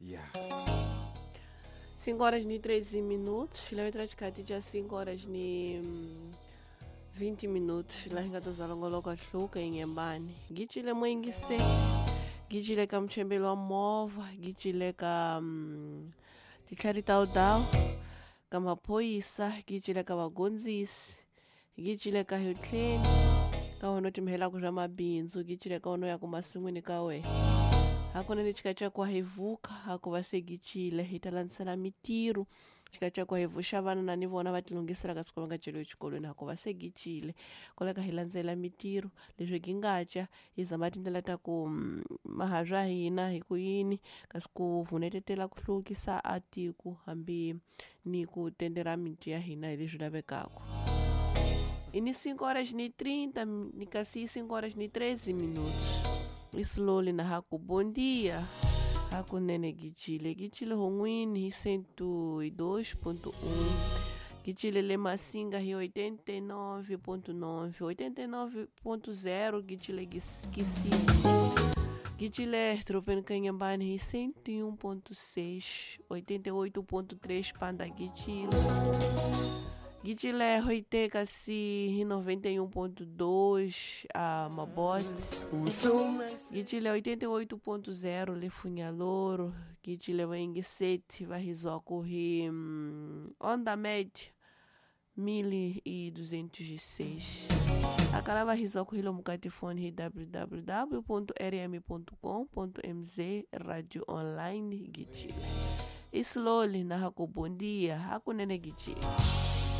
Yeah. 5 horas e 13 minutos. Letra de já 5 horas e 20 minutos. Lá em tozalongoloka hluka inyembani. Gitshile mwingi gitshile ka mchembelo wa movha, gitshile ka titlhari ta udawu, ka maphorisa, gitshile ka vagondzisi, gitshile ka hitleni, ka wena u timhelaka swa mabindzu, gitshile ka wena u yaka masin'wini ka wena. Hakunene xikacakuwa hi vuka hakuva se gitshile hi ta landzelela mitirho xikacakuwa hi vuxa vana na ni vona va tilunghisela ka siku va nga celiwi exikolweni hakuva se gitshile koleka hi landzela mitirho leswi gi nga ca hi zama tindlela ta ku maha swa hina hi ku yini kasi ku vunetetela ku hluvukisa a tiko hambi ni ku tendera miti ya hina hi leswi lavekaka. I ni 5 horas ni 30 ni kasi 5 horas ni 13 minutos. Islowly na haku bom dia. Hakunene gitshile gitshile hon'wini hi 102.1, gitshile le Massinga hi 89.9, 89.0 gitshile Kisini, gitshile Tropeni Canhambane hi 101.6, 88.3 Panda gitshile gitshile Hoiteka si hi 91.2 a Mabote, gitshile 88.0 Lefunhaloro, gitshile Vaingiseti va hi Onda Média 1206. Akala va hizwa hi lomu ka tifoni hi www.rm.com.mz radio online gitshile. Islowly na haku bom dia hakunene gitshile.